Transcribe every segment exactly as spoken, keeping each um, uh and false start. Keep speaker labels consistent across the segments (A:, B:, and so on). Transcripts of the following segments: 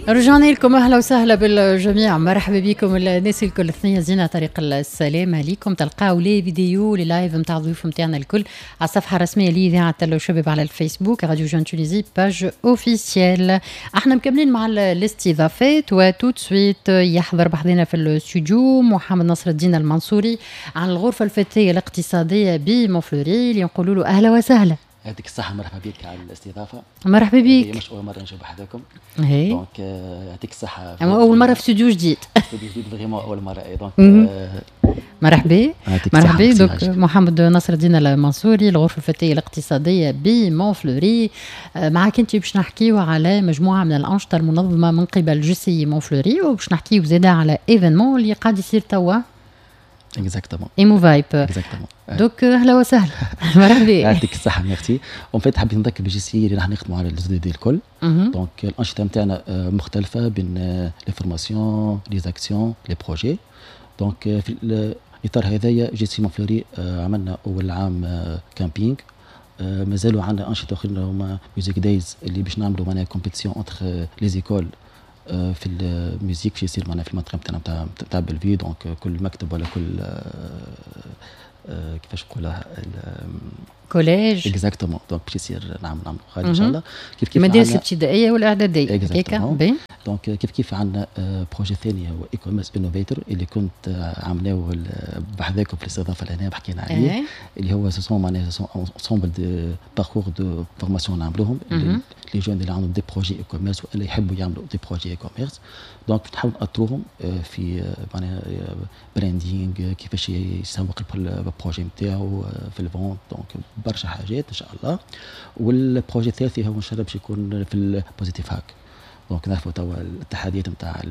A: رجعنا لكم، اهلا وسهلا بالجميع، مرحبا بكم الناس الكل. ثنية زينه، طريق السلامة ليكم. تلقاو les vidéos، les lives نتاع الضيوف نتاعنا الكل على الصفحة الرسمية لاذاعة الشباب على الفيسبوك، Radio Jeune Tunisie page officielle. احنا مكملين مع الاستضافات و tout de suite يحضر بحذنا في الاستوديو محمد نصر الدين المنصوري عن الغرفة الفتية الاقتصادية بمونفلوري، اللي نقولوا له اهلا وسهلا.
B: يعطيك الصحة، مرحبا بك على الاستضافة.
A: مرحبا بك.
B: مش أول مرة نجي بحذاكم.
A: هي
B: donc يعطيك الصحة.
A: أول مرة في استوديو جديد.
B: استوديو جديد، vraiment أول مرة، donc
A: مرحبا مرحبا. donc محمد نصر الدين المنصوري، الغرفة الفتية الاقتصادية بمونفلوري، معك انت باش نحكيو على مجموعة من الأنشطة المنظمة من قبل JCI مونفلوري، وباش نحكيو زاده على événement اللي قاعد يصير توا.
B: exactement.
A: ايمو فايب.
B: exactement.
A: donc اهلا وسهلا، مرحبا.
B: يعطيك الصحة، merci. en fait حبيت نذكر ب JCI اللي راح نخدموا على les ODD الكل. donc الأنشطة نتاعنا مختلفة بين les formations، les actions، les projets. donc في الاطار هذايا JCI مونفلوري عملنا اول عام camping، مازالوا عندنا انشطة اخرين هما Music Days اللي باش نعملوا معناها compétition entre les écoles في ال musique، باش يصير معناها في المنطقة نتاعنا نتاع نتاع بلفي. donc كل مكتب ولا كل كيفاش نقولها
A: collège.
B: exactement، donc باش يصير نعم نعم غادي ان شاء الله.
A: كيف كيف المدارس الابتدائية والاعداديه هكاك.
B: donc كيف كيف عندنا projet ثاني هو e-commerce innovator اللي كنت عاملاه بحذاكم في الاستضافة لهنا حكينا عليه إيه. اللي هو ce sont معناها ce sont ensemble de parcours de formation نعملوهم les jeunes اللي عندهم des projets e-commerce والا يحبوا يعملوا des projets e-commerce. donc نحاول نأطروهم في معناها branding، كيفاش يسوق ال projet نتاعو في ال vente، donc برشا حاجات ان شاء الله. وال projet الثالث هو ان شاء الله باش يكون في ال Positive Hack. donc نعرفوا توا التحديات نتاع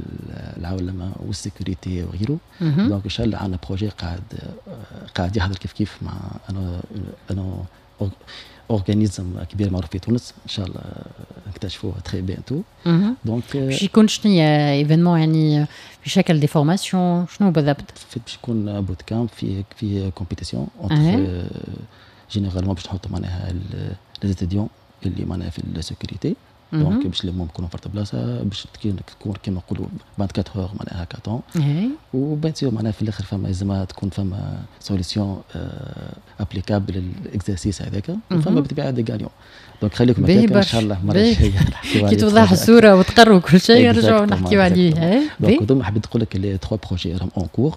B: العولمة وال sécurité وغيره. donc ان شاء الله عندنا projet قاعد قاعد يحضر كيف كيف مع un un organisme كبير معروف في تونس، ان شاء الله نكتشفوه très bientôt.
A: donc باش يكون شنو événement؟ يعني في شكل des formations؟ شنو بالضبط؟
B: باش يكون bootcamp فيه فيه compétition entre généralement باش نحطوا معناها les étudiants اللي معناها في ال sécurité. donc باش نلمهم يكونوا في بلاصه، باش تكون كيما نقولوا vingt-quatre heures معناها hackathon، و bien sûr معناها في الاخر فما لازم تكون فما solution applicable لل exercice هذاك، وفما بالطبيعة des gagnants. donc خليكم هكاك، ان شاء الله المرة
A: الجاية نحكيو. كي توضح الصورة وتقروا كل شيء نرجعوا نحكيو عليه.
B: donc هذوما حبيت نقول لك les trois projets راهم en cours.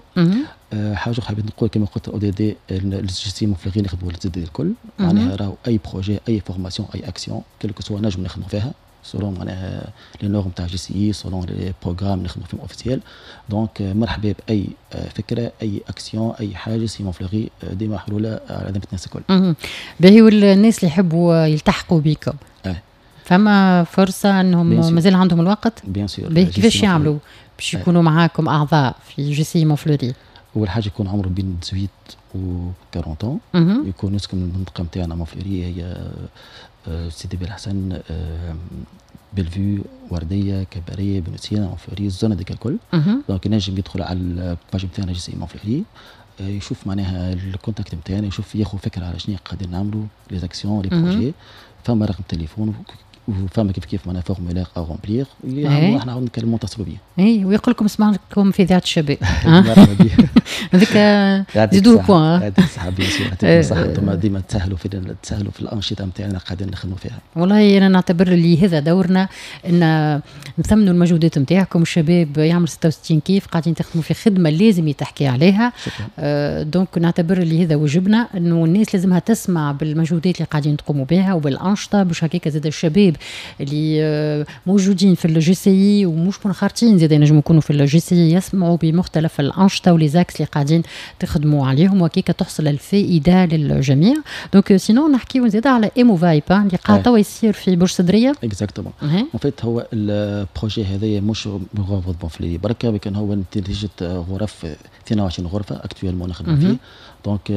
B: حاجة حبيت نقول، كما قلت ODD ال JCI مونفلوري نخدموا les ODD الكل، معناها راهو اي projet، اي formation، اي action quel que soit نجم نخدموا فيها selon معناها les normes تاع JCI، selon les programmes نخدموا فيهم officiels. donc مرحبا باي فكره، اي اكسيون، اي حاجه، JCI مونفلوري ديما محلولة على ذمه الناس الكل.
A: باهي، والناس اللي يحبوا يلتحقوا بكم
B: اه.
A: فما فرصة انهم مازال عندهم الوقت؟
B: bien sûr.
A: كيفاش يعملوا باش يكونوا معاكم اعضاء في JCI مونفلوري؟
B: اول حاجة يكون عمره بين ثمنطاش و أربعين، يكون يسكن من المنطقة نتاعنا مونفلوري، هي آه، سيدي بالحسن، آه، بلفو، ورديه، كباريه، بن سينا، مونفلوري، ال zone هذيك الكل. donc ينجم يدخل على ال page نتاعنا JCI مونفلوري، آه، يشوف معناها ال contact نتاعنا، يشوف ياخذ فكرة على شنو قاعدين نعملوا، les actions، les projets. فما رقم تليفون وفما كيف كيف معناها formulaire à remplir، احنا نعاود نكلموا نتصلوا بيه.
A: اي، ويقول لكم سمعتكم في اذاعة الشباب، هذيك زيدوه point.
B: يعطيك الصحه، bien sûr، يعطيك الصحه، انتم ديما تسهلوا في تسهلوا في الانشطة نتاعنا قاعدين نخدموا فيها.
A: والله انا نعتبر اللي هذا دورنا ان نثمنوا المجهودات نتاعكم. الشباب يعمل ستة وستين كيف، قاعدين تخدموا في خدمة لازم يتحكي عليها.
B: شكرا.
A: آه donc نعتبر اللي هذا واجبنا، انه الناس لازمها تسمع بالمجهودات اللي قاعدين تقوموا بها وبالانشطه، باش هكاك زاد الشباب اللي آه، موجودين في ال JCI ومش منخرطين زاد ينجموا يكونوا في ال JCI، يسمعوا بمختلف الانشطة و les axes اللي قاعدين تخدموا عليهم، وهكاك تحصل الفائدة للجميع. donc sinon نحكيو زاد على ايمو فايب اللي قاعد توا يصير في برج صدريه.
B: exactement. en fait هو ال projet هذايا مش غرفة مونفلوري بركه، لكن هو نتيجة غرف، اثنين وعشرين غرفة actuellement نخدم فيه. donc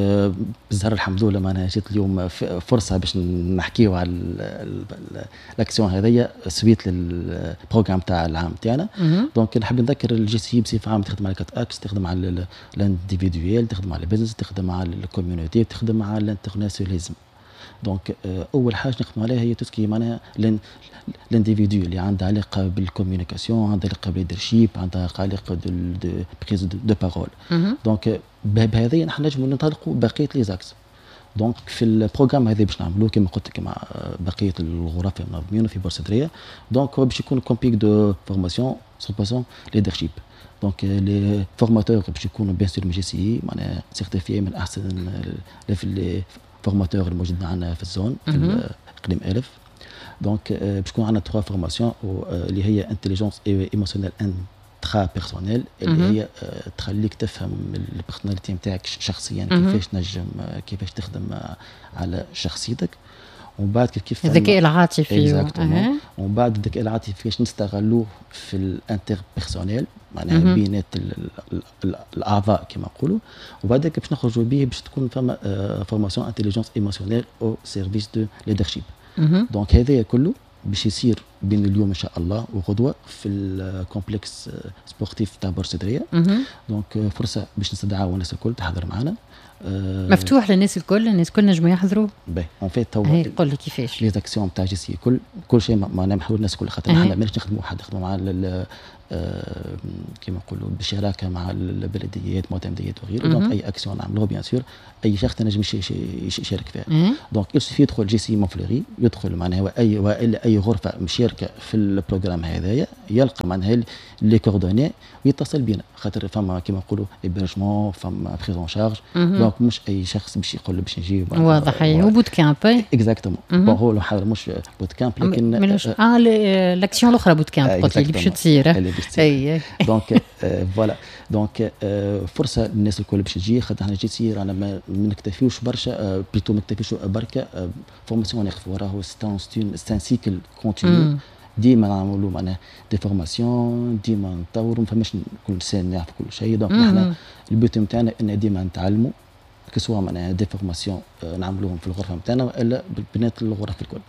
B: بالزهر الحمد لله معناها جات اليوم فرصة باش نحكيو على الاكسيون هذيا suite لل programme تاع العام تاعنا. donc نحب نذكر ال JCI بصفة عامة تخدم على quatre axes: تخدم على l'individuel، تخدم على ال business، تخدم على ال communauté، تخدم على l'internationalisme. donc اول حاجة نخدموا عليها هي tout ce qui معناها l'individu اللي عندها علاقة بال communication، عندها علاقة بال leadership، عندها علاقة de prise de parole. donc بهذه نحن نجموا ننطلقوا بقية les axes. donc في ال programme هذا باش نعملوه كما قلت لك مع بقية الغرف المنظمين في بورسدريه، donc هو باش يكون complet de formation cent pour cent leadership. donc les formateurs باش يكونوا bien sûr من JCI، معناها certifiés، من احسن les formateurs الموجودين عندنا في ال zone، في اقليم الف. donc باش يكون عندنا trois formations، اللي هي intelligence émotionnelle intrapersonnelle، اللي هي تخليك تفهم ال personnalité نتاعك شخصيا، كيفاش تنجم كيفاش تخدم على شخصيتك. ومن بعد كيف كيف
A: الذكاء العاطفي.
B: ومن بعد الذكاء العاطفي كيفاش نستغلوه في ال interpersonnel، معناها بينات الاعضاء كما نقولوا. وبعد باش نخرجوا به باش تكون فما formation intelligence émotionnelle au service de leadership. donc هذا كله باش يصير بين اليوم ان شاء الله وغدوه في ال complexe sportif تاع بورسدريه. donc فرصة باش نستدعوا الناس الكل تحضر معنا.
A: مفتوح للناس الكل؟ الناس الكل نجموا يحضروا؟
B: باهي، en fait
A: هو قول لي كيفاش.
B: les actions تاع JCI كل كل شيء معناها محلول الناس الكل، خاطر احنا ماناش نخدموا وحد، نخدموا مع كيما نقولوا بشراكه مع البلديات، معتمديات وغيره. donc اي اكسيون نعملوها، bien sûr اي شخص نجم يشارك فيها. donc il suffit يدخل JCI Montfleury، يدخل معناها اي والا اي غرفة مشاركة في ال programme هذايا، يلقى معناها les coordonnées ويتصل بينا، خاطر فما كيما نقولوا hébergement، فما prise en charge. donc مش اي شخص باش يقول باش نجي.
A: واضح، هو bootcamp.
B: exactement. bon، هو مش bootcamp لكن
A: اه l'action الاخرى bootcamp قلت لي باش تصير.
B: اي، donc voilà، donc فرصة للناس الكل باش تجي، خاطر احنا JCI رانا ما نكتفيوش برشا، plutôt ما نكتفيوش بركة formation ناخذ، راهو c'est un cycle continu، ديما نعملوا معناها des formations، ديما نطوروا، ما فماش كل سنة نعرف كل شيء. donc نحن ال but نتاعنا ان ديما نتعلموا، que ce soit معناها des formations نعملوهم في الغرفة نتاعنا والا بنات الغرف الكل.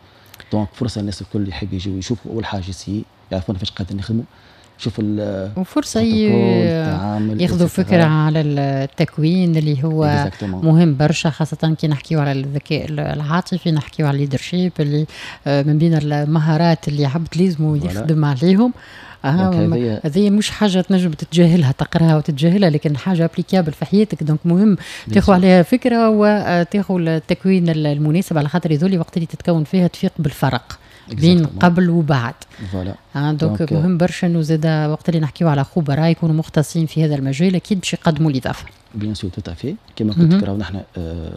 B: donc فرصة الناس الكل يحب يجيو يشوفوا اول حاجة JCI، يعرفونا فاش قاعدين نخدموا، شوف.
A: وفرصة ياخذوا فكرة على التكوين اللي هو exactement مهم برشا، خاصة كي نحكيو على الذكاء العاطفي، نحكيو على ال leadership اللي آه، من بين المهارات اللي عبد لازم يخدم عليهم. آه هذه مش حاجة تنجم تتجاهلها، تقراها وتتجاهلها، لكن حاجة applicable في حياتك. donc مهم تاخذ عليها فكرة وتاخذ التكوين المناسب، على خاطر يذولي وقت اللي تتكون فيها تفيق بالفرق بين قبل وبعد.
B: voilà.
A: آه donc مهم برشا انه زاد وقت اللي نحكيو على خبراء يكونوا مختصين في هذا المجال، اكيد باش يقدموا الاضافه.
B: bien sûr، tout à fait. كما قلت لك، راهو نحن آه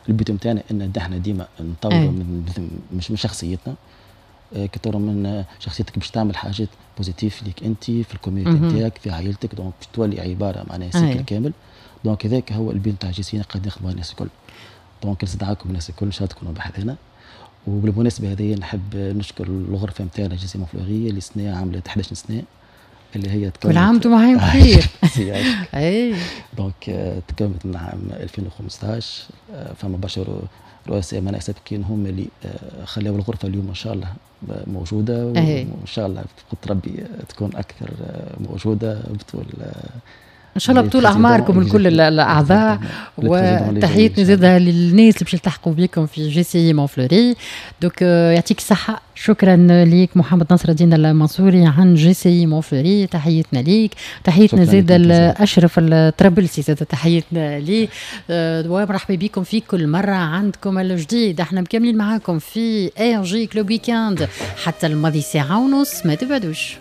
B: ال but نتاعنا ان نحن ديما نطوروا من مش من شخصيتنا. آه كطور من شخصيتك باش تعمل حاجات positives ليك انت، في ال communauté نتاعك، في عائلتك. donc باش تولي عبارة معناها cycle كامل. donc هذاك هو ال but نتاع JCI، قاعد نخدموا الناس الكل. donc نستدعاكم الناس الكل، ان شاء الله تكونوا بحذنا. وبالمناسبة هذه نحب نشكر الغرفة نتاعنا JCI Montfleury اللي سنة عملت إحداش سنة، اللي هي
A: تكونت. كل عام وانتم معايا بخير.
B: اي، donc تكونت من عام ألفين وخمسطاش. فما برشا رؤساء معناها سابقين هم اللي آه، خلاو الغرفة اليوم ان شاء الله موجوده، وان شاء الله بقدرة ربي تكون اكثر آه، موجودة بطول آه،
A: ان شاء الله بطول اعماركم الكل الاعضاء. وتحياتنا زاده للناس اللي باش يلتحقوا بكم في JCI Montfleury. donc يعطيك الصحه، شكرا ليك محمد نصر الدين المنصوري عن JCI Montfleury، تحياتنا ليك. تحياتنا زاده لاشرف الطرابلسي، زاده تحياتنا ليه. آه، ومرحبا بكم في كل مرة عندكم الجديد. احنا مكملين معاكم في RJ Club Weekend حتى الماضي ساعة ونص، ما تبعدوش.